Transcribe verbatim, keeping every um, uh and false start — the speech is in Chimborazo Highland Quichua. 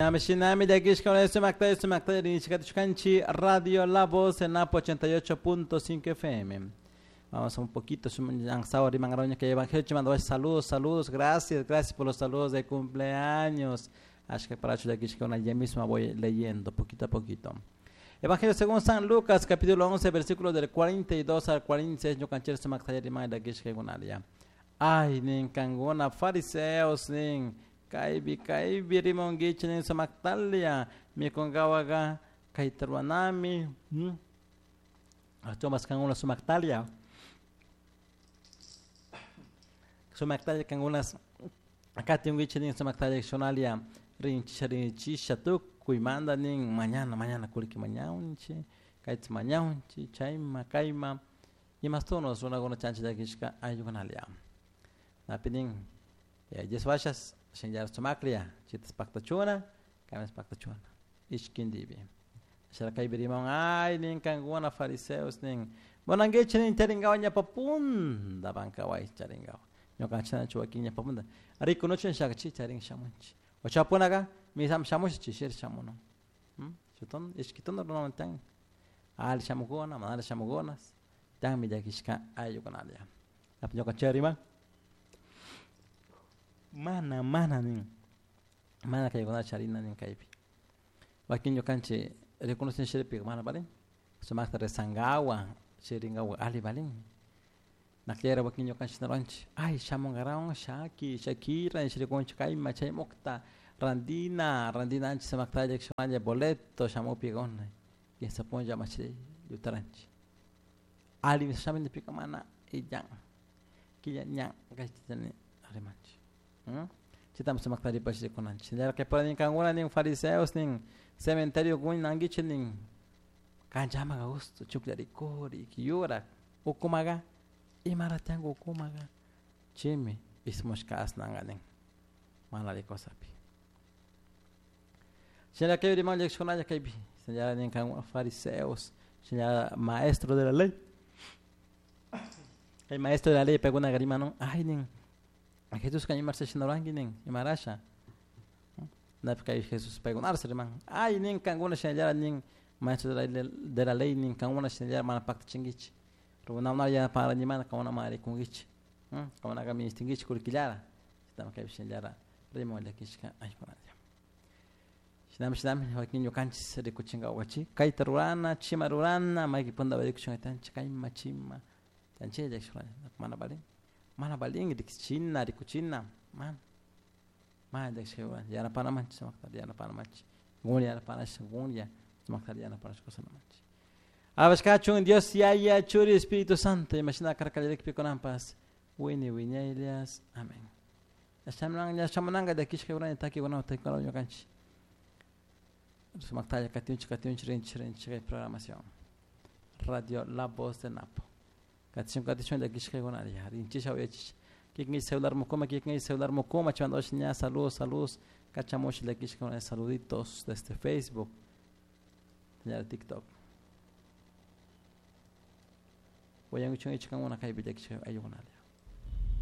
Shinami Radio La Voz en Napo ochenta y ocho punto cinco F M. Vamos un poquito, que saludos, saludos, gracias, gracias por los saludos de cumpleaños. Ya mismo voy leyendo poquito a poquito. Evangelio según San Lucas, capítulo once, versículos del cuarenta y dos al cuarenta y seis. Ay, nin kanguna fariseos, nin kaibi kaibi rimongichi nin sumaktalia mikungawaga kaitarwanami achomas kanguna sumaktalia sumaktalia kangunas akatingichi nin sumaktalia shonalia rinchisha rinchisha tukuymanta nin mañana mañana kulki mañaunchi kaitz mañaunchi chayma kayma imastunos runakuna chanchillakishka ayukunalia napinin yeswashas shinllar sumaklia chitas paktachuna kamis paktachuna ishkindibi shara rimon ay nin kanguna fariseos nin monanguichi nin charingawa ñapapunda bankaway charingawa ñukanchina chuwakin ñapapunda rikunuchin shakachi charin shamunchi ochapunaga misam shamush chishir shamuno chuton ishkiton runaman al shamukuna manal shamukunas tan millakishka ayukunalia ñukanchik riman mana mana nin mana kaykuna charina nin kaypi wakin ñukanchik reconocen shirpi mana balin sumakta rezangawa chiringawa ali balin nakllera wakin ñukanchik naranchik ay shamunqarawan shaki shakira shirikunchik kayma chay mukta randina randina anchik sumaktalla shumalla boleto shamupikuna kinsa punlla machi yutaranchik ali shaminipika mana illan killa ñan kaytani rimanchik chitam sumaktaripash rikunanchik que por nin kankuna nin fariseos nin cementerio kunankichik nin kanchamaqa gusto chukllarikuri yurak ukumaqa imaratianku ukumaqa chaymi ismushka asnanqa nin mana alli cosapi shinalla kay riman llakishkunalla kaypi shinalla nin kankuna fariseos shinalla maestro de la ley el maestro de la ley paykunaqa riman ay nin Jesús ka imarsa shinaranki nin imarasha napi kay Jesús paykunarsa riman ay nin kankuna shinallara nin maestro de la, de la ley nin kankuna shinallara mana paktachinkichik runakunata yanaparanimana kankuna mana rikunkichik kankunaka ministinkichik kullkillara chaytami kaypi shinallara riman llakishka aykunalla shinami shinami wakin ñukanchik rikuchinkawachi kayta rurana chima rurana mayki punta rikuchinkatanchik kayma chima tanchilla llakishkunalla mana valin mana balin rikuchina rikuchina mana mana llakishka yanapanamanchik sumakta yanapanamanchik gunlla yanapanash gunlla sumakta yanapanash kawsanamanchik alabashkachun Dios Yaya Churi Espíritu Santo imashina karkallarikpi kunanpas wini wiñaylias amén shamunanqa llakishka urani takikunata takikuna ñukanchik sumaktalla katinchik katinchik rinchik rinchik kay programación Radio La Voz de Napo katishun katishun llakishkakunalla rinchisha uyachisha kikin celular mukuma kikin celular mukuma chimanta ña saludos saludos kachamush llakishkakuna saluditos desde Facebook ña TikTok wayankuchun ichkankuna kaypi llakishka ayukunalla.